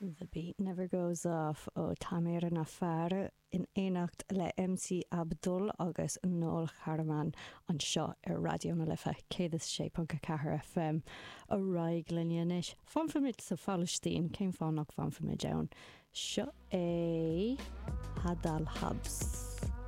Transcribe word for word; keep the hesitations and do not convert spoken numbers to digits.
The Beat Never Goes Off ó Tamer Nafar in éineacht le MC Abdul agus Noel Charaman anseo ar Raidió na Life céad is sé ponc a ceathair FM a raiig linne anois. Fanfaimid sa Phalaistín cén fáth nach bhfanfaimid ann. Seo é Hadal Habs.